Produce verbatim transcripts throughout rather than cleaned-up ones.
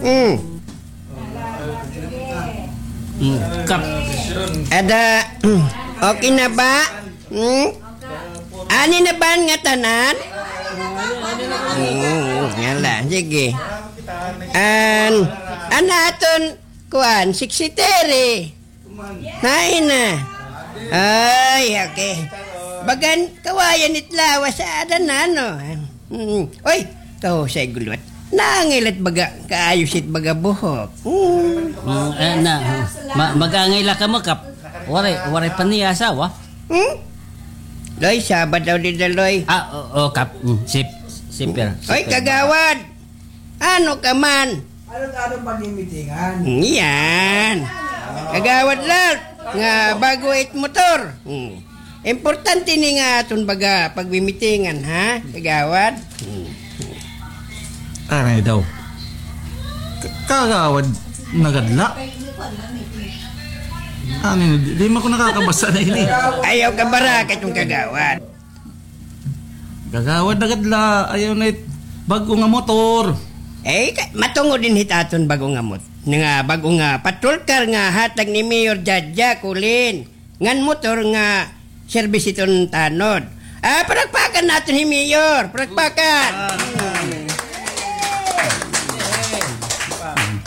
Hmm. Hmm. Kap. Ada, okay na ba? Hmm? Ani na ba an ngatanan? Hmm, hala, sige. An, an aton, kuan, sixty-three. Hain na? Ay, okay. Bagan kawayan it lawas ha ada na, no? Mm. Oy, kahusay guluwat. Naangay la it baga, kaayos it baga buhok. Mm. Mm, eh, na, ma-, mag-angay la kamo, Kap. Waray, waray pa niya asawa? Hmm? Loy, Sabado daw dida, Loy. Ah, o, o, Kap. Mm, sip-, sipir, oy, sipir. Kagawad! Ano ka man? Ano, ano pag-imitingan? Iyan. Kagawad la nga bag-o it motor. Hmm. Importante ini nga aton baga pagmimitingan, ha, kagawad? Hmm. Aray daw. Ka-, kagawad, nagadla? Ano, di, di man ko nakakabasa na ini. Ayaw ka baraka iton kagawad. Kagawad, nagadla, ayaw na it bag-o nga motor. Eh, ka-, matungod dinhi it aton bag-o nga mot-, nga bag-o nga patrol car nga hatag ni Mayor Jaja Colin. Ngan motor nga serbis iton tanod. Ah, palakpakan naton hi Mayor. Palakpakan.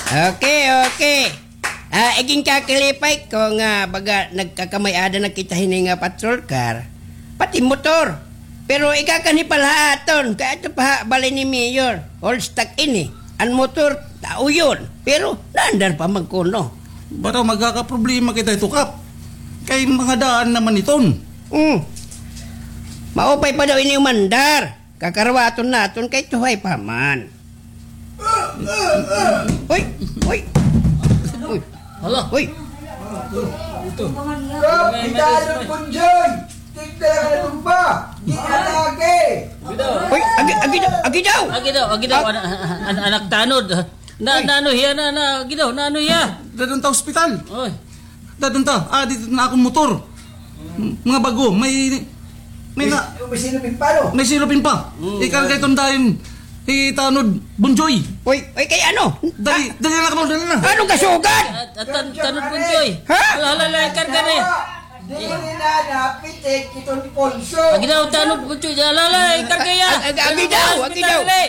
Okay, okay. Ah, iginkakalipay ko nga baga nagkakamay-ada na kita hini nga patrol car, pati motor. Pero ikakan hi pa la ha aton, kay adto pa ha balay ni Mayor, all stock ini. An motor, tao yun. Pero naandar pa man kuno. Baraw magkakaproblema kita hito, Kap. Kay mga daan naman iton. Hmm. Maupay pa daw ini umandar. Kakaruwaton naton kay tuhay pa man. Hoy! Hoy! Hoy! Hala! Hoy! Kap, may, may kita ano, Punjoy! Tigda lang na tumba! Ginatake! Hoy! Agi, agi daw! Agi daw! Agi daw! Agi daw! Ah. An-, an-, an-, anak tanod! Na, na ano hiya, na, na, agi daw, na ano hiya? Dadun ta ospital. Oy. Dadun ta. Ah, dito na akong motor. Mga bago, may, may na, may silupin pa, no? May silupin pa. Mm. Ikarga iton dayon, itanod, Bunjoy. Oy, oy, kay ano? Dali, dali na kamo, dali na. Anong kasugad? At, at, tan-, tanod, Bunjoy. Ha? Hala, hala, hala, ikarga na. Dili na napitik iton pulso. Agi daw, tanod, Bunjoy. Hala, hala, ikarga ya. Ag-, ag-, agi daw, agi daw. Dali.